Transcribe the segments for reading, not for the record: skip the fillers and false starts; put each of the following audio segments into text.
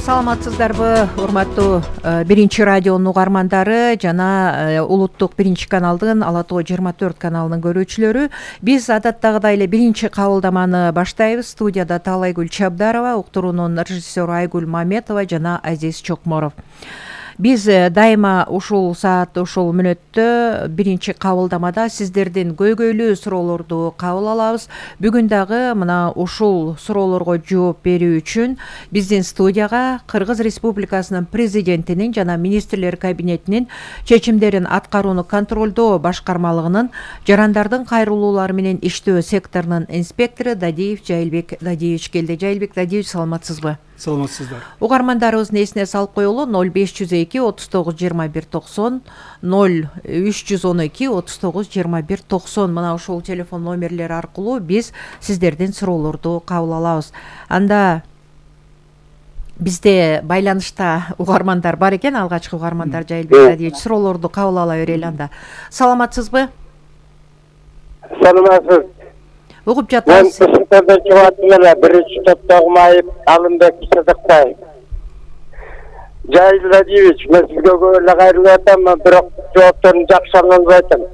Саламатсыздарбы, урматтуу биринчи радионун угармандары жана улуттук биринчи каналдын Ала Тоо 24 каналынын көрүүчүлөрү. Биз адаттагыдай эле биринчи кабылдаманы баштайбыз. Студияда Таалайгүл Чабдарова, уктуруунун режиссеру Айгүл Маметова жана Азиз Чокморов. Биз дайыма ушул саат, ушул мүнөттө биринчи кабылдамада сиздердин көйгөйлүү суроолорду кабыл алабыз. Бүгүн дагы мына ушул суроолорго жооп берүү үчүн биздин студияга Кыргыз Республикасынын президентинин жана министрлер кабинетинин чечимдерин аткарууну контролдоо башкармалыгынын жарандардын кайрылуулары менен иштөө секторунун инспектору Дадиев Жайылбек Дадиевич келди. Жайылбек Дадиевич, саламатсызбы? Саламатсыздар. Угармандарыбыздын эсине салып коелу: 0502 39 21 90 0312 39 21 90 мына ушул телефон номерлери аркылуу биз сиздердин суроолорду кабыл алабыз. Анда бизде байланышта угармандар бар экен. Алгачкы угармандар Жайылбек Дадиевич, суроолорду кабыл ала берели анда. Саламатсызбы? Саламатсыз. Угуп жатабыз. Мен Сыктардан чыгаттым эле, биринчи топтогу Майып Алымбек Сыдыкбаев. Жайылбек Дадиевич, мен сизге көп эле кайрылып атам, бирок жоопторун жакшы ала албайм.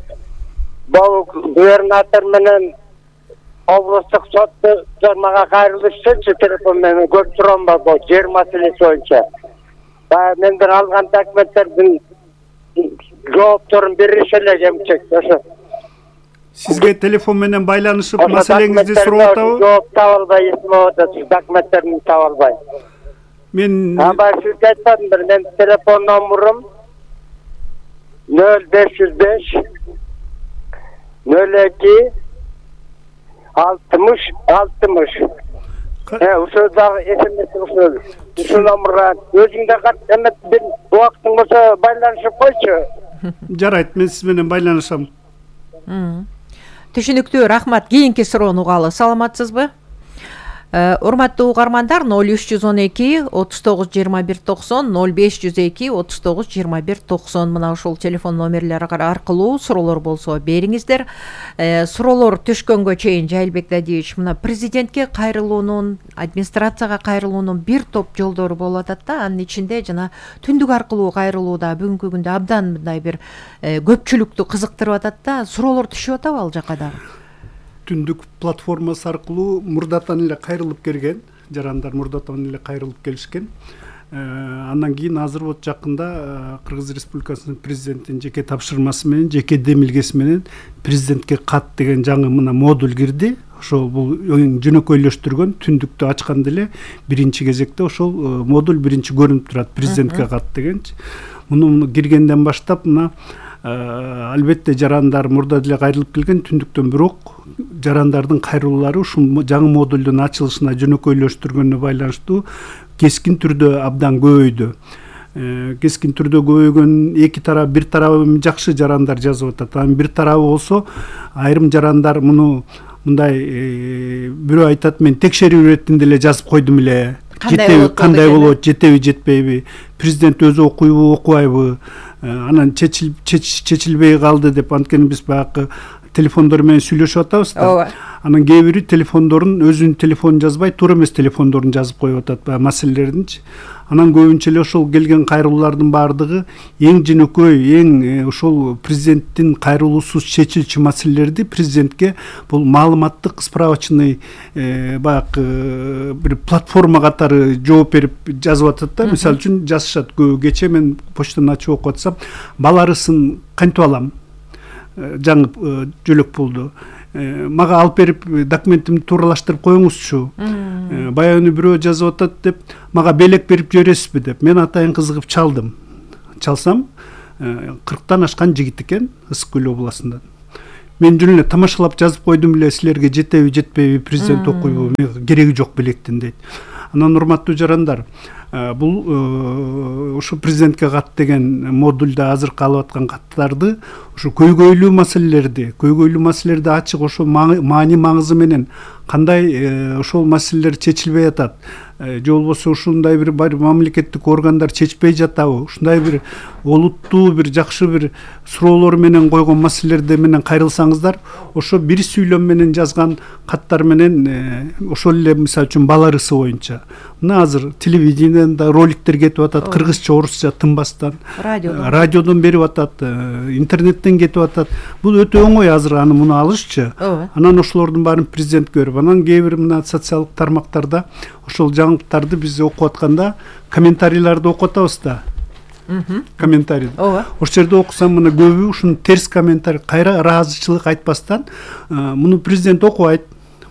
Бул губернатор менен облустук соттор мага кайрылышчы телефон менен көп сурам бар бул жер маселеси боюнча. Менден алган документтердин жоопторун бериши эле кемчек. Ошо Сизге телефон менен байланышып маселеңизди сурап атабы? Жооп таба албай, эсиме атат, документтерин таба албай. Мен сизге айтпадым бир, менин телефон номурум 0505 02 60 60. Ушул дагы смс ушул номурга өзүңдө кат эмет бир убактың болсо байланышып койчу. Жарайт, мен сиз менен байланышам. Түшүнүктүү, рахмат. Кийинки суроону угалы. Саламатсызбы? Урматтуу угармандар, 0312 39 21 90 0502 39 21 90 мына ушул телефон номерлери аркылуу суроолор болсо бериңиздер. Суроолор түшкөнгө чейин Жайылбек Дадиевич, мына президентке кайрылуунун, администрацияга кайрылуунун бир топ жолдору болуп атат да, анын ичинде жана түндүк аркылуу кайрылуу да бүгүнкү күндө абдан мындай бир көпчүлүктү кызыктырып атат да. Суроолор түшүп атабы ал жака дагы? Түндүк платформасы аркылуу мурдатан эле кайрылып келген, жарандар мурдатан эле кайрылып келишкен. Андан кийин азыр вот жакында Кыргыз Республикасынын президентинин жеке тапшырмасы менен, жеке демилгеси менен президентке кат деген жаңы мына модуль кирди. Ошол бул жөнөкөйлөштүргөн, түндүктү ачканда эле биринчи кезекте ошол модуль биринчи көрүнүп турат, президентке кат дегенчи. Муну киргенден баштап мына албетте жарандар мурда деле кайрылып келген, түндүктөн бирок жарандардын кайрылуулары ушул жаңы модулдун ачылышына жөнөкөйлөштүргөнүнө байланыштуу кескин түрдө абдан көбөйдү. Кескин түрдө көбөйгөн эки тарап, бир тарабы жакшы жарандар жазып атат. Анын бир тарабы болсо айрым жарандар муну мындай бирөө айтат, мен текшерүү иретинде эле жазып койдум эле. Кандай болот, жетеби, жетпейби, президент өзү окуйбу, окубайбы, анан чечилбей калды деп. Анткени биз баягы телефондор менен сүйлөшүп атабыз да. Анан кээ бири телефондорун өзүнүн телефонун жазбай, туура эмес телефондорун жазып коюп атат баягы маселелердинчи. Анан көбүнчө эле ошол келген кайрылуулардын баардыгы эң жөнөкөй, эң ошол президенттин кайрылуусуз чечилчү маселелерди президентке бул маалыматтык справочный баягы бир платформа катары жооп берип жазып атат да. Мисалы үчүн жазышат, кечээ мен почтаны ачып окуп атсам, бала арысын кантип алам, жаңы жөлөк болду, мага алып берип документимди тууралаштырып коюңузчу, баягы бирөө жазып атат деп, мага белек берип жибересизби деп. Мен атайын кызыгып чалсам 40тан ашкан жигит экен, Ысык Көл областынан. Мен жөн эле тамашалап жазып койдум эле, силерге жетеби, жетпейби, президент окуйбу, кереги жок белектин дейт. Анан урматтуу жарандар, бул ушу президентке кат деген модульда азыркы алып аткан каттарды, ушу көйгөйлүү маселелерди ачык, ошо маани маңызы менен кандай ошол маселелер чечилбей атат, же болбосо ушундай бир мамлекеттик органдар чечпей жатабы, ушундай бир олуттуу бир жакшы бир суроолор менен койгон маселелерди менен кайрылсаңыздар, ошо бир сүйлөм менен жазган каттар менен ошол эле мисалы үчүн бала арысы боюнча мына азыр телевидениеден да роликтер кетип атат, кыргызча, орусча тынбастан, радиодон берип атат, интернеттен кетип атат. Бул өтө оңой азыр аны муну алышчы. Анан ошолордун баарын президентке берип, анан кээ бир мына социалдык тармактарда ошол жаңылыктарды биз окуп атканда комментарийлерди окуп атабыз да. Комментарий. Ошол жерде окусам мына көбү ушуну терс комментарий, кайра ыраазычылык айтпастан, муну президент окубайт,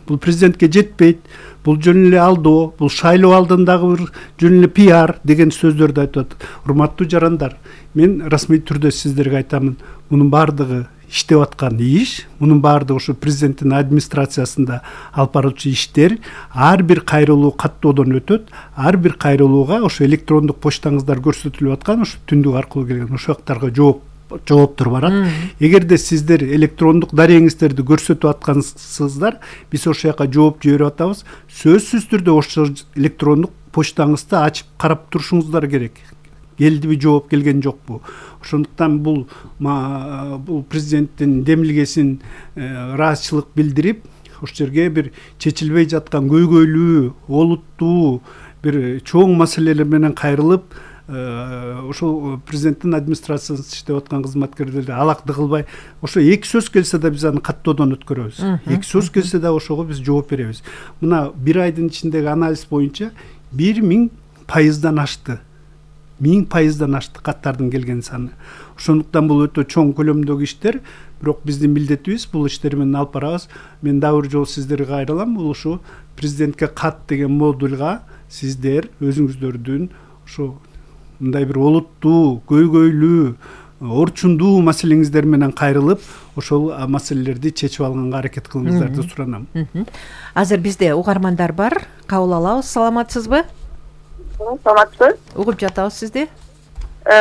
бул президентке жетпейт, бул жөн эле алдоо, бул шайлоо алдындагы бир жөн эле пиар деген сөздөрдү айтып атат. Урматтуу жарандар, мен расмий түрдө сиздерге айтамын, мунун баардыгы иштеп аткан иш, мунун баардыгы ушу президенттин администрациясында алып баруучу иштер, ар бир кайрылуу каттоодон өтөт, ар бир кайрылууга ошо электрондук почтаңыздар көрсөтүлүп аткан, ошо түндүк аркылуу келген ошоктарга жооптор барат. Эгерде сиздер электрондук дарегиңиздерди көрсөтүп аткансыздар, биз ошол жака жооп жиберип атабыз. Сөзсүз түрдө ошо электрондук почтаңызды ачып карап турушуңуздар керек. Келдиби, жооп келген жокпу? Ошондуктан бул президенттин демилгесин ыраазычылык билдирип, ошол жерге бир чечилбей жаткан көйгөйлүү, олуттуу бир чоң маселелер менен кайрылып, ошол президенттин администрациясында иштеп аткан кызматкерлерди алакты кылбай, ошо эки сөз келсе да биз аны каттоодон өткөрөбүз. Эки сөз келсе да ошого биз жооп беребиз. Мына бир айдын ичиндеги анализ боюнча 1000% ашты. 1000% ашты каттардын келген саны. Ошондуктан бул өтө чоң көлөмдөгү иштер, бирок биздин милдетибиз бул иштер менен алып барабыз. Мен дагы бир жолу сиздерге кайрылам, бул ушу президентке кат деген модульга сиздер өзүңүздөрдүн ушу мындай бир олуттуу, көйгөйлүү, орчундуу маселеңиздер менен кайрылып, ошол маселелерди чечип алганга аракет кылыңыздарды суранам. Азыр бизде угармандар бар, кабыл алабыз. Саламатсызбы? Саламатсызбы? Угуп жатабыз сизди.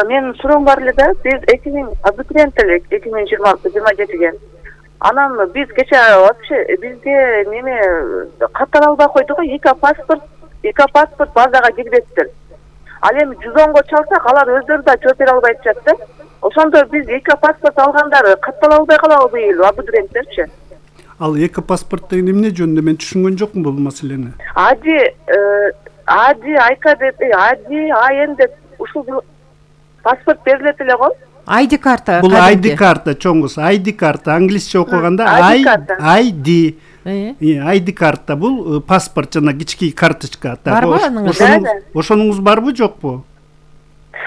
Менин суроом бар эле да, биз 2000 абитуриент элек 2026-27-ге. Анан биз кече вообще бизге неме каттала албай койдук, эки паспорт базага кирбептир. Ал эми 110го чалсак, алар өздөрү да жооп бере албай атышат да. Ошондо биз эки паспорт алгандар каттала албай калабы быйыл абитуриенттерчи? Ал эки паспорт деген эмне жөнүндө мен түшүнгөн жокмун бул маселени. Айка деп, АН деп ушул паспорт берилет эле го. ID карта. Бул ID карта, чоңгус, ID карта, англисче окуганда ID. ID карта бул паспорт, жана кички карточка. Барбы аныңыз? Ошонуңуз барбы, жокпу?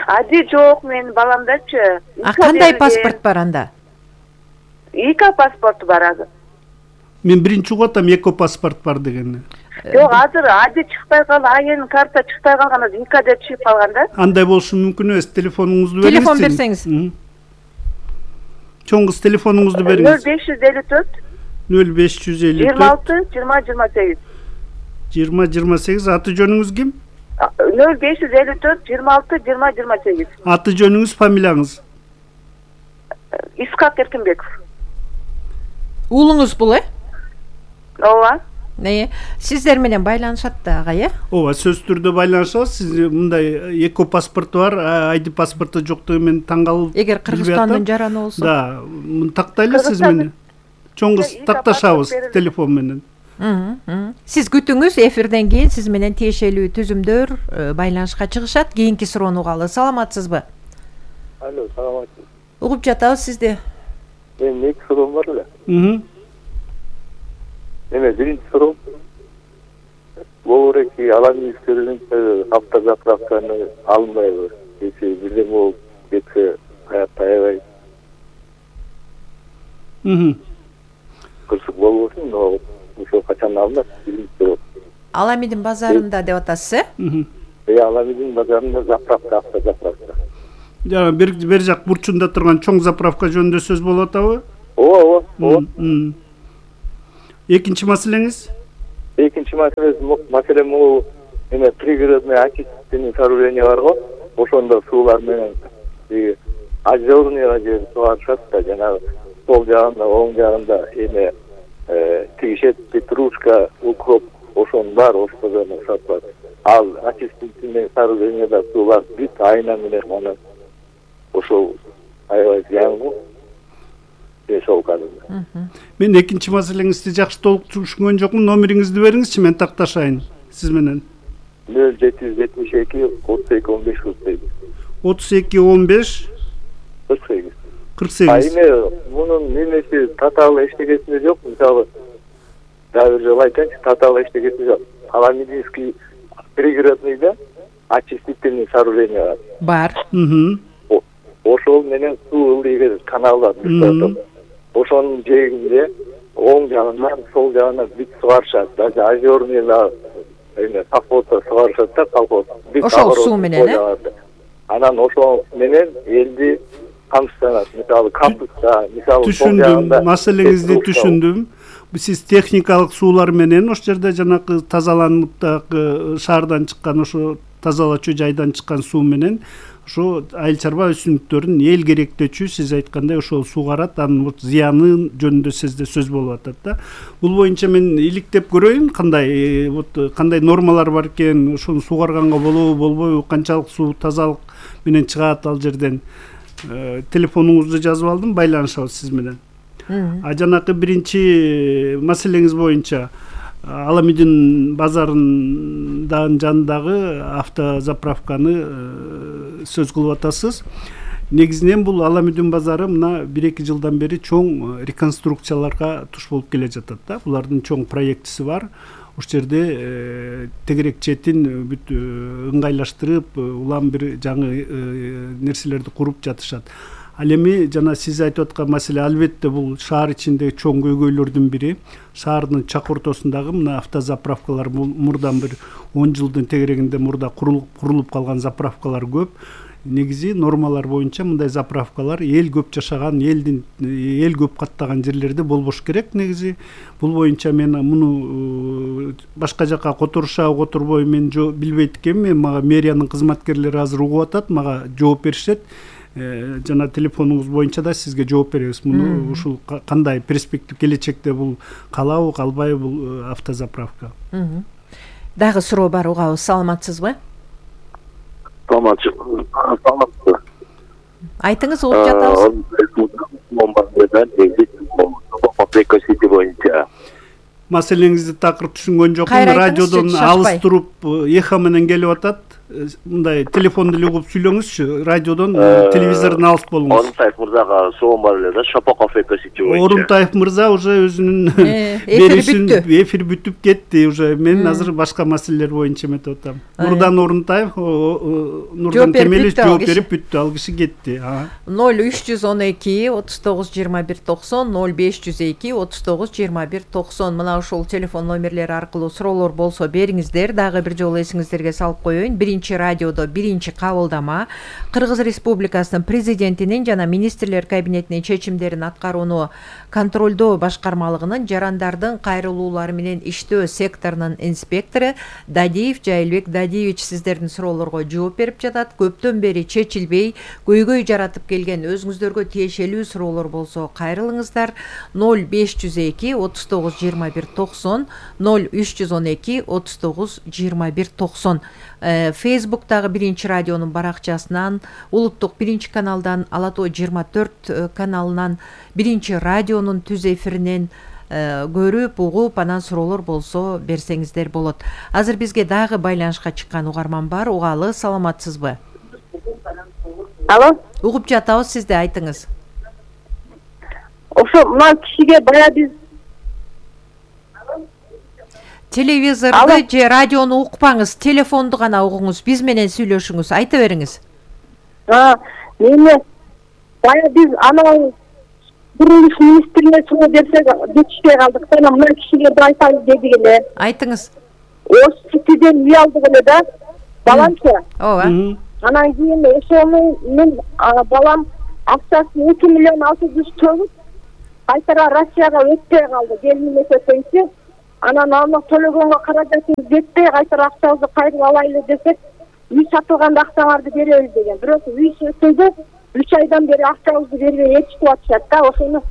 ID жок, менин баламдачы. Кандай паспорт бар анда? Эки паспорт бар азыр. Мен биринчи угуп атам эки паспорт бар дегенди. Жок, азыр ID чыкпай калды, АН карта чыкпай калган, азыр ИК деп чыгып калган да. Андай болушу мүмкүн эмес, телефонуңузду бериңиз. Телефон берсеңиз. Чоңгуз телефонуңузду бериңиз. 0554 26 20-28. Аты жөнүңүз ким? 0554 26 20-28. Аты жөнүңүз, фамилияңыз? Искак Эркинбеков. Уулуңуз бул, Ооба. Сиздер менен байланышат да, ага, Ооба, сөзсүз түрдө байланышабыз. Сиз мындай эко паспорту бар, ID паспорту жоктугу менен таң калып. Эгер Кыргызстандын жараны болсо. Да, тактайлы сиз мени. Чоңгуз такташабыз телефон менен. Сиз күтүңүз, эфирден кийин сиз менен тиешелүү түзүмдөр байланышка чыгышат. Кийинки суроону угалы. Саламатсызбы? Алло, саламатсыз. Угуп жатабыз сизди. Мен эки суроом бар эле. Биринчи суроом. Болореки аламискерин автозаправканы алынбайбы. Эки бирден болуп кетсе каякта аябай. Кырсык болбосун, но ошо качан алынат? Биринчи суроо. Аламидин базарында деп атасыз, Аламидин базарында заправка, автозаправка. Жана бер жак бурчунда турган чоң заправка жөнүндө сөз болуп атабы? Ооба. Экинчи маселеңиз? Экинчи маселе могу пригородный очистительный сооружение бар го. Ошондо суулар менен ажжорныйга же сугарышат да, жанагы сол жагында, оң жагында тигишет, петрушка, укроп, ошонун баары ошондон сатылат. Ал очистительный сооружениеда суулар бүт айна менен анан ошол аябай зыян го. Мен экинчи маселеңизди жакшы толук түшүнгөн жокмун. Номериңизди бериңизчи, мен такташайын сиз менен. 0772 32 15 48. 32 15 48. 48. Эми мунун немеси татаал эчтегеси жок. Мисалы дагы бир жолу айтайынчы, татаал эчтегеси жок. Аламединский пригородныйда очистительный сооружение бар. Ошол менен суу ылдый каналдар башталып. Ошонун жээгинде оң жагынан, сол жагынан бүт сугарышат. Даже озерный эме колхозда сугарышат да, колхоз. Ошол суу менен, Анан ошол менен элди камсызданат. Мисалы кампуста, мисалы түшүндүм, маселеңизди түшүндүм. Сиз техникалык суулар менен ошол жерде жанакы тазаланып дагы шаардан чыккан ошо тазалачу жайдан чыккан суу менен ошо айыл чарба өсүмдүктөрүн эл керектөөчү сиз айткандай ошол суугарат, анын зыяны жөнүндө сизде сөз болуп атат да. Бул боюнча мен иликтеп көрөйүн, кандай нормалар бар экен, ошону суугарганга болобу, болбойбу, канчалык суу тазалык менен чыгат ал жерден. Телефонуңузду жазып алдым, байланышабыз сиз менен. Жанакы биринчи маселеңиз боюнча Аламедин базарынын жанындагы автозаправканы сөз кылып атасыз. Негизинен бул Аламедин базары мына 1-2 жылдан бери чоң реконструкцияларга туш болуп келе жатат да. Булардын чоң проектиси бар. Ошол жерде тегерек четин бүт ыңгайлаштырып, улам бир жаңы нерселерди куруп жатышат. Ал эми жана сиз айтып аткан маселе албетте бул шаар ичиндеги чоң көйгөйлөрдүн бири. Шаардын чак ортосундагы мына автозаправкалар мурдан бир 10 жылдын тегерегинде мурда курулуп калган заправкалар көп. Негизи нормалар боюнча мындай заправкалар эл көп жашаган, эл көп каттаган жерлерде болбош керек. Негизи бул боюнча мен муну башка жака которушабы, которбойбу мен билбейт экенмин. Мага мэриянын кызматкерлери азыр угуп атат, мага жооп беришет. Жана телефонуңуз боюнча да сизге жооп беребиз. Муну ушул кандай перспектив келечекте бул калабы, калбайбы бул автозаправка? Дагы суроо бар, угабыз. Саламатсызбы? Саламатсызбы. Айтыңыз, угуп жатабыз. Маселеңизди такыр түшүнгөн жокмун. Радиодон алыс туруп эхо менен келип атат. Мындай телефонду эле угуп сүйлөңүзчү. Радиодон телевизордон алыс болуңуз. Орунтаев мырзага суроом бар эле да, Шапоков экосити боюнча. Орунтаев мырза уже өзүнүн эфир бүтүп кетти уже. Мен азыр башка маселелер боюнча эметип атам. Нурдан Орунтаев, Нурдан Темелев жооп берип бүттү, ал киши кетти. 0312 39 21 90 0502 39 21 90 мына ушул телефон номерлери аркылуу суроолор болсо бериңиздер. Дагы бир жолу эсиңиздерге салып коеюн. Биринчи радиодо биринчи кабылдама Кыргыз Республикасынын президентинин жана министрлер кабинетинин чечимдерин аткарууну контролдоо башкармалыгынын жарандардын кайрылуулары менен иштөө секторунун инспектору Дадиев Жайылбек Дадиевич сиздердин суроолорго жооп берип жатат. Көптөн бери чечилбей көйгөй жаратып келген өзүңүздөргө тиешелүү суроолор болсо кайрылыңыздар. 0502 39 21 90 0312 39 21 90. Facebook'тагы биринчи радионун баракчасынан, улуттук биринчи каналдан, Ала Тоо 24 каналынан, биринчи радионун түз эфиринен көрүп, угуп, анан суроолор болсо берсеңиздер болот. Азыр бизге дагы байланышка чыккан угарман бар. Угалы, саламатсызбы? Алло? Угуп жатабыз, сизде айтыңыз. Ошо мына кишиге бая биз телевизорду же радиону укпаңыз, телефонду гана угуңуз, биз менен сүйлөшүңүз, айта бериңиз. Мени бая биз анан курулуш министрине суроо берсек жетишпей калдык. Анан мына кишиге да айтайын дедик эле. Айтыңыз. Ош ситиден үй алдык эле да, баламчы. Ооба. Анан кийин ошону мен балам акчасын 2 миллион 600 төлөп кайтара Россияга өтпөй калды. Келин эсептейинчи. Анан аны төлөгөнгө каражатыбыз жетпей, кайтара акчабызды кайрып алайлы десек, үй сатылганда акчаңарды беребиз деген. Бирок үй сатылды, 3 айдан бери акчабызды бербей ээрчитип атышат да. Ошону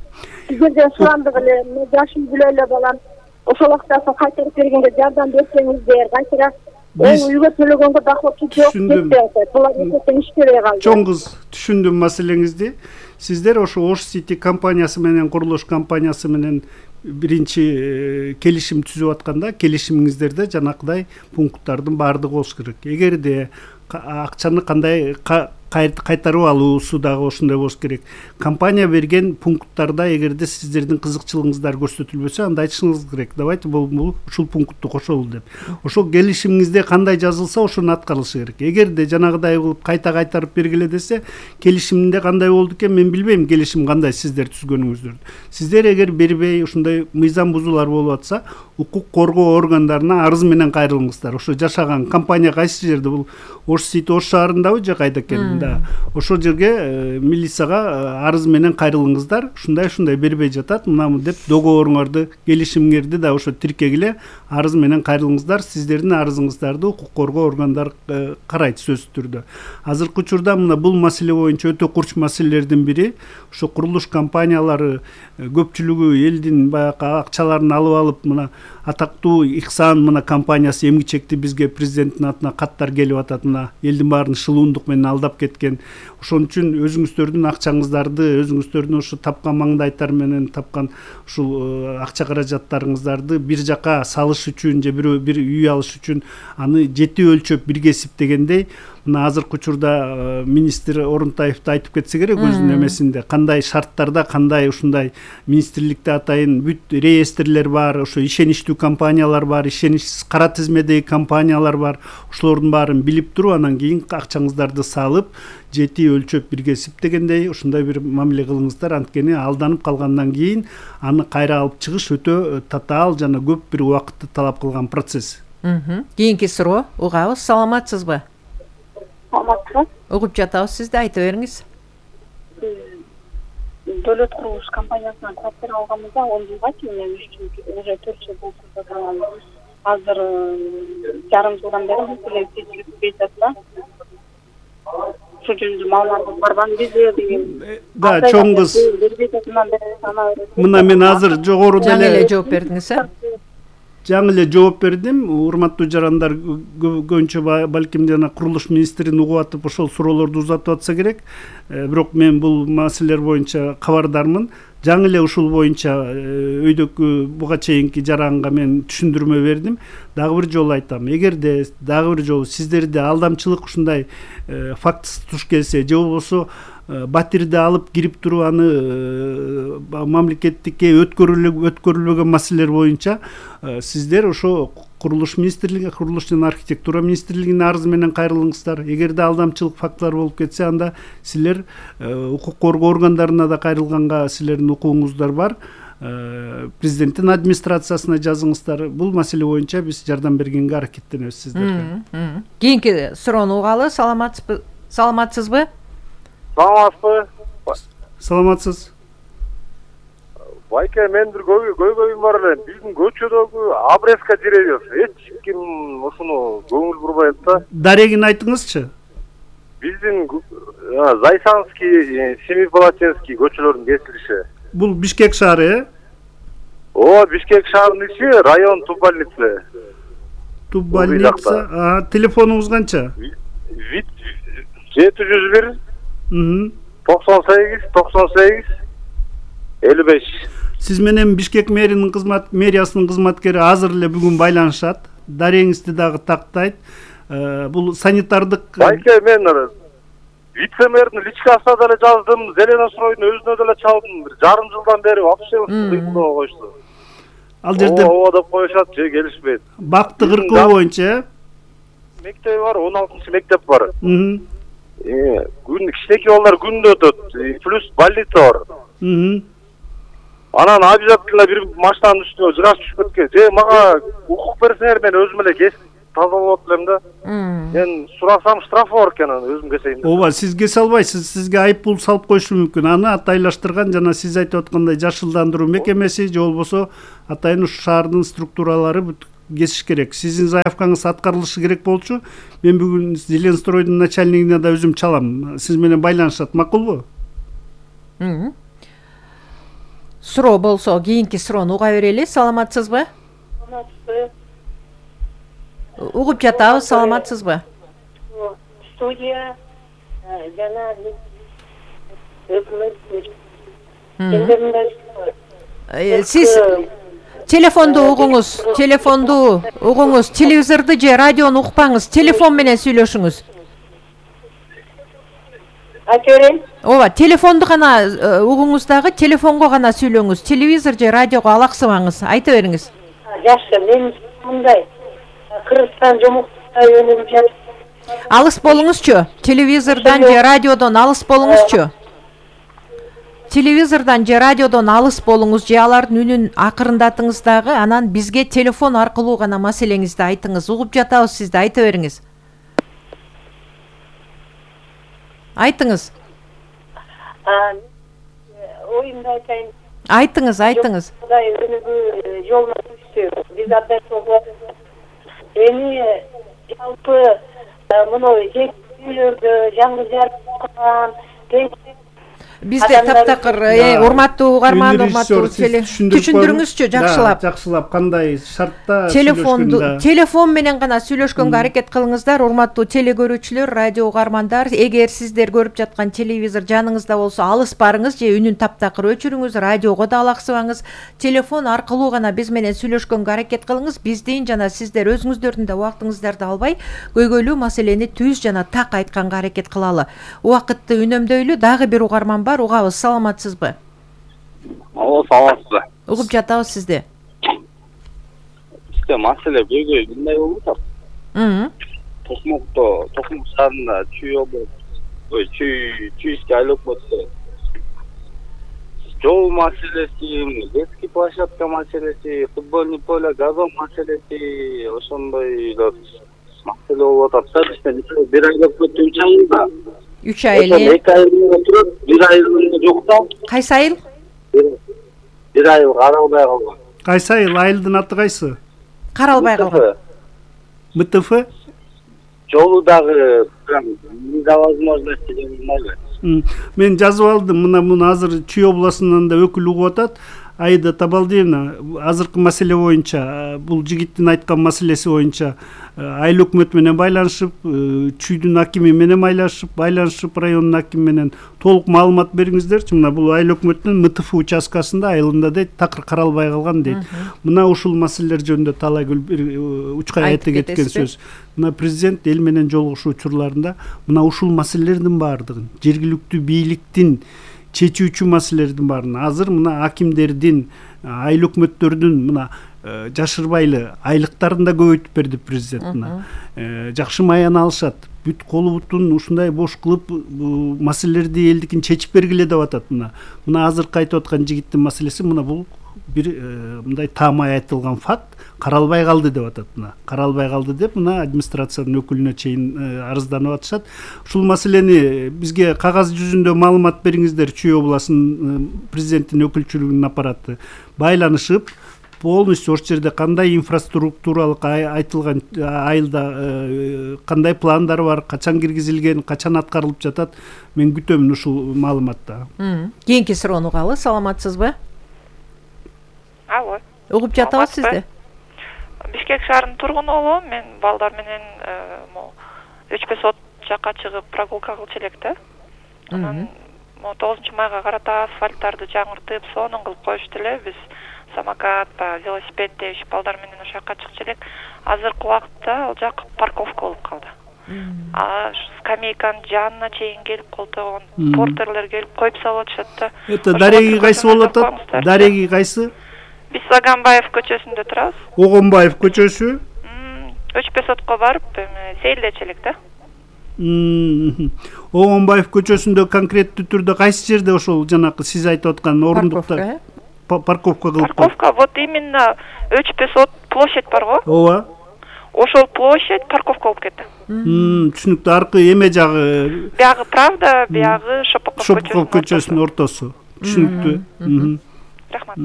сиздерден сурандык эле, жашым бүлө эле балам. Ошол акчасын кайтарып бергенге жардам берсеңиздер, кайтара үйгө төлөгөнгө доход жок кетти. Булар эсептен иштебей калды. Чоң кыз, түшүндүм маселеңизди. Сиздер ошо Ош Сити компаниясы менен, курулуш компаниясы менен биринчи келишим түзүп атканда келишимиңиздерде жанакыдай пункттардын баардыгы болуш керек. Эгерде акчаны кандай кайтарып алуусу дагы ошондой болуш керек. Компания берген пункттарда эгерде сиздердин кызыкчылыгыңыздар көрсөтүлбөсө, анда айтышыңыз керек. Давайте бул ушул пунктту кошолу деп. Ошол келишимиңизде кандай жазылса, ошону аткарылышы керек. Эгерде жанагыдай кылып кайта кайтарып бергиле десе, келишимде кандай болду экен мен билбейм, келишим кандай сиздер түзгөнүңүздөрдү. Сиздер эгер бербей ушундай мыйзам бузуулар болуп атса, укук коргоо органдарына арыз менен кайрылыңыздар. Ошо жашаган компания кайсы жерде, бул Ош Сити Ош шаарындабы же кайда экен? Ошол жерге милицияга арыз менен кайрылыңыздар. Ушундай бербей жатат, мынамы деп договоруңарды, келишимиңерди да ошо тиркегиле, арыз менен кайрылыңыздар. Сиздердин арызыңыздарды укук коргоо органдары карайт сөзсүз түрдө. Азыркы учурда мына бул маселе боюнча өтө курч маселелердин бири, ошо курулуш компаниялары көпчүлүгү элдин баягы акчаларын алып мына атактуу Ихсан мына компаниясы эмгичекти бизге президенттин атына каттар келип атат, мына элдин баарын шылуундук менен алдап кеткен. Ошон үчүн өзүңүздөрдүн акчаңыздарды, өзүңүздөрдүн ошо тапкан маңдайтар менен тапкан ушул акча каражаттарыңыздарды бир жака салыш үчүн же бир үй алыш үчүн аны жети өлчөп бирге эсептегендей, мына азыркы учурда министр Орунтаевди айтып кетсе керек өзүнүн эмесинде, кандай шарттарда, кандай ушундай министрликте атайын бүт реестрлер бар, ошо ишеничтүү компаниялар бар, ишеничсиз кара тизмедеги компаниялар бар. Ошолордун баарын билип туруп, анан кийин акчаңыздарды салып, жети өлчөп бирге эсептегендей ушундай бир мамиле кылыңыздар. Анткени алданып калгандан кийин аны кайра алып чыгыш өтө татаал жана көп бир убакытты талап кылган процесс. Кийинки суроо угабыз. Саламатсызбы? Саламатсызбы? Угуп жатабыз, сизди айта бериңиз. Дөлөт курулуш компаниясынан квартира алганбызда 10 жылга чейин уже 4 жыл болду. Азыр жарым жылдан бери бул эле чечилип жатат. Ошол жөнүндө маалыматыңыз барбы? Биз деген Да, чоң кыз. Мына мен азыр жогоруда эле жооп бердиңиз, жаңы эле жооп бердим. Урматтуу жарандар көбүнчө балким жана курулуш министрин угуп атып ошол суроолорду узатып атса керек. Бирок мен бул маселелер боюнча кабардармын. Жаңы эле ушул боюнча өйдөкү буга чейинки жаранга мен түшүндүрмө бердим. Дагы бир жолу айтам. Эгерде дагы бир жолу сиздерде алдамчылык ушундай фактысы туш келсе, же болбосо батирди алып кирип туруп аны мамлекеттикке өткөрүлбөгөн маселелер боюнча сиздер ошо курулуш министрлиги, курулуш жана архитектура министрлигине арыз менен кайрылыңыздар. Эгерде алдамчылык фактылар болуп кетсе, анда силер укук коргоо органдарына да кайрылганга силердин укугуңуздар бар. Президенттин администрациясына жазыңыздар. Бул маселе боюнча биз жардам бергенге аракеттенебиз сиздерге. Кийинки суроону угалы. Саламатсызбы? Саламатсызбы? Саламатсыз. Байке, мен бир көйгөйүм бар эле. Биздин көчөдөгү обрезка деревьев эч ким ушуну көңүл бурбайт да. Дарегин айтыңызчы. Биздин Зайсанский, Семипалатинский көчөлөрүнүн кесилиши. Бул Бишкек шаары, Бишкек шаарынын ичи, район Туббольница. Туббольница. Телефонуңуз канча? 701 98 55. Сиз менен Бишкек мэриясынын кызматкери азыр эле бүгүн байланышат. Дареңизди дагы тактайт. Бул санитардык. Байке, мен вице-мэрдин личкасына деле жаздым, Зеленостройдун өзүнө деле чалдым. Жарым жылдан бери вообще кыймылдабай коюшту. Ал жерде деп коюшат, же келишпейт. Бакты кыркоо боюнча мектеби бар, 16-мектеп бар. Кичинекей балдар күндө өтөт, плюс больница бар. Анан обязательно бир машинанын үстүнө жыгаш түшүп кеткен. Же мага укук берсеңер, мен өзүм эле кесип тазалап элем да. Мен сурасам штрафы бар экен, өзүм кесейин. Ооба, сиз кесе албайсыз. Сизге айыппул салып коюшу мүмкүн. Аны атайлаштырган жана сиз айтып аткандай жашылдандыруу мекемеси же болбосо атайын ушу шаардын структуралары кесиш керек. Сиздин заявкаңыз аткарылышы керек болчу. Мен бүгүн Зеленстройдун начальнигине да өзүм чалам. Сиз менен байланышат, макулбу? Суроо болсо кийинки суроону уга берели. Саламатсызбы? Угуп жатабыз. Саламатсызбы? Студия жана өкмөт. Сиз телефонду угуңуз, телевизорду же радиону укпаңыз, телефон менен сүйлөшүңүз. Айта берейин. Ооба, телефонду гана угуңуз дагы, телефонго гана сүйлөңүз. Телевизор же радиого алаксыбаңыз. Айта бериңиз. Жакшы, мен мындай Кыргызстан жомуктуна өнүгүп жатат. Алыс болуңузчу. Телевизордон же радиодон алыс болуңузчу. Телевизордон же радиодон алыс болуңуз, же алардын үнүн акырындатыңыз дагы, анан бизге телефон аркылуу гана маселеңизди айтыңыз. Угуп жатабыз сизди, айта бериңиз. Айтыңыз. Оюмду айтайын. Айтыңыз. Кудай өнүгүү жолуна түштү. Биз абдан чогуу эми жалпы мына жекелөрдө жаңы жарыкталган Бизде таптакыр урматтуу угарман, урматтуу түшүндүрүңүзчү жакшылап кандай шартта телефон менен гана сүйлөшкөнгө аракет кылыңыздар. Урматтуу теле көрүүчүлөр, радио угармандар, эгер сиздер көрүп жаткан телевизор жаныңызда болсо алыс барыңыз же үнүн таптакыр өчүрүңүз, радиого да алаксыбаңыз. Телефон аркылуу гана биз менен сүйлөшкөнгө аракет кылыңыз. Биздин жана сиздер өзүңүздөрдүн да убактыңыздарды албай көйгөйлүү маселени түз жана так айтканга аракет кылалы. Убакытты үнөмдөйлү. Дагы бир угарман бар, угабыз. Саламатсызбы? Саламатсызбы. Угуп жатабыз сизди. Бизде маселе көйгөй мындай болуп атат. Токмок шаарында чүй айлык болсо. Жол маселеси, детский площадка маселеси, футбольный поле, газон маселеси, ошондой маселе болуп атат. Бизде бир айлык өтүп чагында 3 ай эле. 2 ай отуруп, 1 ай жок да. Кайсы айыл? 1 ай каралбай калган. Кайсы айыл? Айылдын аты кайсы? Каралбай калган. МТФ? Жолу дагы невозможности болмайды. Мен жазып алдым, мына азыр Чүй областынан да өкүл угуп атат. Аида Табалдиевна, азыркы маселе боюнча, бул жигиттин айткан маселеси боюнча айыл өкмөт менен байланышып, Чүйдүн акими менен байланышып, райондун акими менен толук маалымат бериңиздерчи. Мына бул айыл өкмөттүн МТФ участкасында айылында дейт, такыр каралбай калган дейт. Мына ушул маселелер жөнүндө талай учкай айта кеткен сөз. Мына президент эл менен жолугушуу учурларында мына ушул маселелердин баардыгын жергиликтүү бийликтин чечүүчү маселелердин баарын азыр мына акимдердин, айыл өкмөттөрдүн мына жашырбайлы айлыктарын да көбөйтүп берди президент. Мына жакшы маян алышат. Бүт колу бутун ушундай бош кылып маселелерди элдикин чечип бергиле деп атат. Мына азыркы айтып аткан жигиттин маселеси мына бул бир мындай таамай айтылган факт, каралбай калды деп атат. Мына каралбай калды деп мына администрациянын өкүлүнө чейин арызданып атышат. Ушул маселени бизге кагаз жүзүндө маалымат бериңиздер. Чүй областынын президенттин өкүлчүлүгүнүн аппараты байланышып, полностью ошол жерде кандай инфраструктуралык айтылган айылда кандай пландар бар, качан киргизилген, качан аткарылып жатат. Мен күтөмүн ушул маалыматты. Кийинки суроону угалы. Саламатсызбы? Алло. Угуп жатабыз сизди. Бишкек шаарынын тургуну болом. Мен балдар менен 3-5 сот жакка чыгып прогулка кылчу элек да. Анан 9-майга карата асфальттарды жаңыртып, сонун кылып коюшту эле. Биз самокат, велосипед деп балдар менен ошол жакка чыкчу элек. Азыркы убакытта ал жак парковка болуп калды. Скамейканын жанына чейин келип колтогон портерлер келип коюп салып атышат да. Это дареги кайсы болуп атат? Дареги кайсы? Биз Агамбаев көчөсүндө турабыз. Огонбаев көчөсү? 3-5 сотко барып, сейилдечи элек да. Огонбаев көчөсүндө конкреттүү түрдө кайсы жерде ошол жанакы сиз айтып аткан орундуктар? Парковка кылып. Парковка, вот именно 3-5 сот площадь бар го. Ооба. Ошол площадь парковка болуп кетти. Түшүнүктүү. Аркы эме жагы. Биягы Правда, биягы Шопоков көчөсүнүн ортосу. Түшүнүктүү. Рахмат.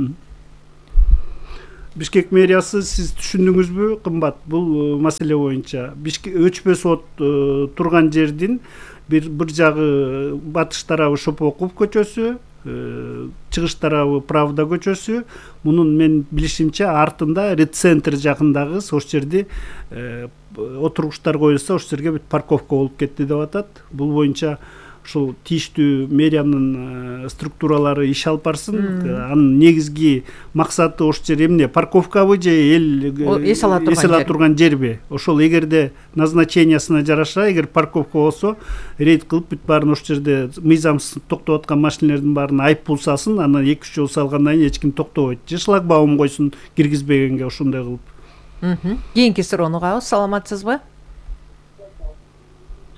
Бишкек мэриясы, сиз түшүндүңүзбү, кымбат? Бул маселе боюнча Өчпө сот турган жердин бир жагы батыш тарабы Шопоков көчөсү, чыгыш тарабы Правда көчөсү. Мунун мен билишимче артында Ред-центр жакындагы ошол жерде отургучтар коюлса, ошол жерге бүт парковка болуп кетти деп атат. Бул боюнча ушул тийиштүү мэриянын структуралары иш алып барсын. Анын негизги максаты ошол жер эмне? Парковкабы же эл эс ала турган жерби? Ошол эгерде назначениясына жараша, эгер парковка болсо, рейд кылып бүт баарын ошол жерде мыйзамсыз токтоп аткан машиналердин баарына айыппул салсын, анан 2-3 жол салгандан кийин эч ким токтобойт. Же шлагбаум койсун киргизбегенге ошондой кылып. Кийинки суроону угабыз. Саламатсызбы?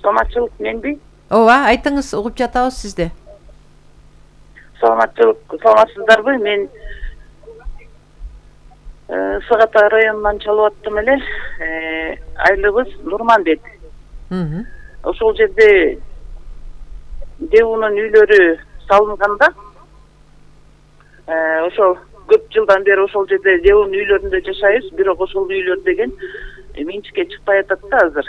Саламатчылык менби? Ооба, айтыңыз, угуп жатабыз сизди. Саламатсыздарбы? Мен Сагата районунан чалып аттым эле. Айлыбыз Нурманбет. Ошол жерде ДУнун үйлөрү салынганда, ошол көп жылдан бери ошол жерде ДУнун үйлөрүндө жашайбыз, бирок ошол үйлөр деген менчикке чыкпай атат да азыр.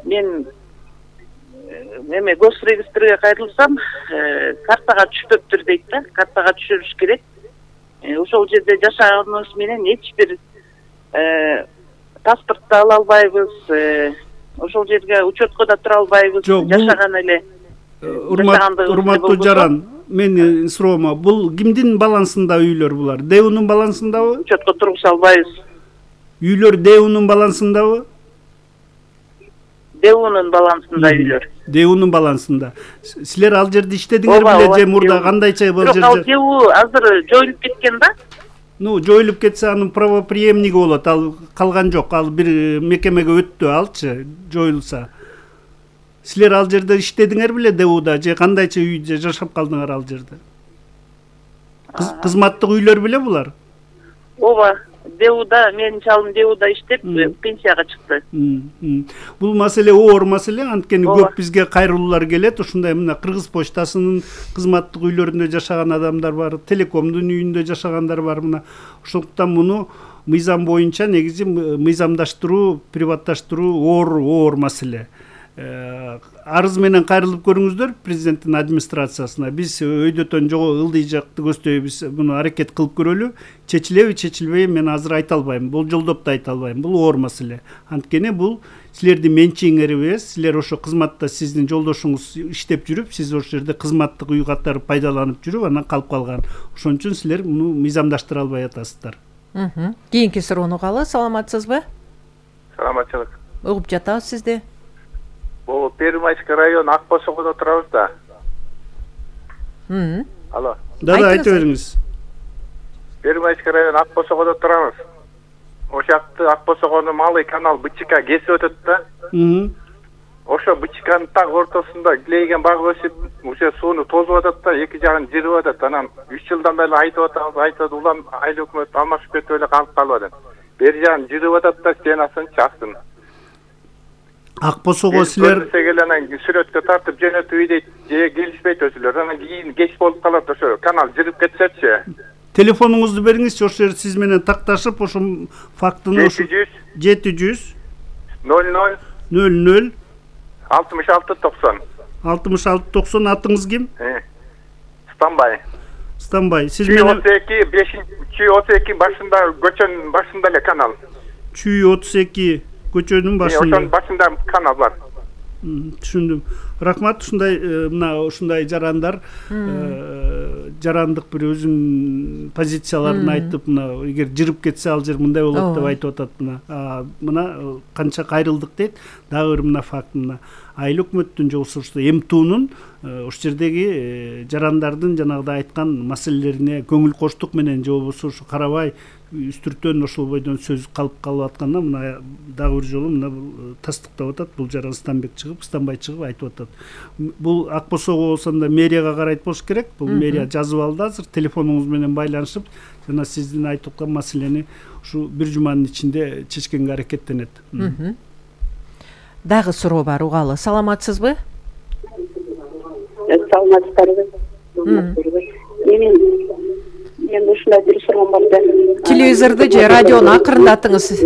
Мен эме госрегистрге кайрылсам, картага түшпөптүр дейт да, картага түшүрүш керек. Ошол жерде жашаганыбыз менен эч бир паспортто ала албайбыз, ошол жерге учетко да тура албайбыз, жашаган эле. Урматтуу жаран, менин суроома, бул кимдин балансында үйлөр булар? ДУнун балансындабы? Учетко тургуза албайбыз. Үйлөр ДУнун балансындабы? ДУнун балансында үйлөр. ДУнун балансында. Силер ал жерде иштедиңер беле же мурда кандайча бул жерде? Бирок ал ДУ азыр жоюлуп кеткен да. Жоюлуп кетсе анын правоприемниги болот, ал калган жок, ал бир мекемеге өттү, алчы жоюлса. Силер ал жерде иштедиңер беле ДУда же кандайча үйдө жашап калдыңар ал жерде? Кызматтык үйлөр беле булар? Ооба, ДУда, менин чалым ДУда иштеп, пенсияга чыкты. Бул маселе оор маселе, анткени көп бизге кайрылуулар келет. Ушундай мына Кыргыз почтасынын кызматтык үйлөрүндө жашаган адамдар бар, Телекомдун үйүндө жашагандар бар. Мына ошондуктан муну мыйзам боюнча негизи мыйзамдаштыруу, приватташтыруу оор маселе. Арыз менен кайрылып көрүңүздөр президенттин администрациясына. Биз өйдөтөн ылдый жакты көздөйбүз, муну аракет кылып көрөлү. Чечилеби, чечилбейби мен азыр айта албайм. Болжолдоп да айта албайм. Бул оор маселе. Анткени бул силердин менчигиңер эмес. Силер ошо кызматта сиздин жолдошуңуз иштеп жүрүп, сиз ошол жерде кызматтык үй катары пайдаланып жүрүп, анан калып калган. Ошон үчүн силер муну мыйзамдаштыра албай атасыздар. Кийинки суроону угалы. Саламатсызбы? Саламатчылык. Угуп жатабыз сизди. Бул Первомайский район Акбосогодо турабыз да. Алло. Да, айта бериңиз. Первомайский район Акбосогодо турабыз. Ошол жакты Акбосогонун малый канал БЧК кесип өтөт да. Ошо БЧКнын так ортосунда килейген баг өсүп, уже сууну тозуп атат да, эки жагын жырып атат. Анан 3 жылдан бери айтып атабыз, улам айыл өкмөт алмашып кетип эле калып атат. Бери жагын жырып атат да, стенасын чактын. Акбосого силер анан сүрөткө тартып жөнөтүп ийдейт, же келишпейт өзүлөр. Анан кийин кеч болуп калат, ошо канал жырып кетсечи. Телефонуңузду бериңизчи, ошо жер сиз менен такташып, ошо фактыны 700 00 00 66 90 атыңыз ким? Станбай. Сиз менен 32 башында, көчөнүн башында эле канал. 32 көчөнүн башында. Ошонун башында канал бар. Түшүндүм. Рахмат, ушундай жарандар жарандык бир өзүнүн позицияларын айтып, мына эгер жырып кетсе ал жер мындай болот деп айтып атат. Мына канча кайрылдык дейт. Дагы бир мына факт, мына айыл өкмөттүн же ошо МТУнун ошол жердеги жарандардын жанагыда айткан маселелерине көңүл коштук менен же болбосо ошо карабай үстүртөн ошол бойдон сөз калып атканда, мына дагы бир жолу мына тастыктап атат. Бул жаран Станбай чыгып айтып атат. Бул Акбосого болсо да мэрияга карайт болуш керек. Бул мэрия жазып алды азыр, телефонуңуз менен байланышып, жана сиздин айтып аткан маселени ушу бир жуманын ичинде чечкенге аракеттенет. Дагы суроо бар, угалы. Саламатсызбы? Саламатсыздарбы? Мен ушундай бир суроом бар да. Телевизорду же радиону акырындатыңыз.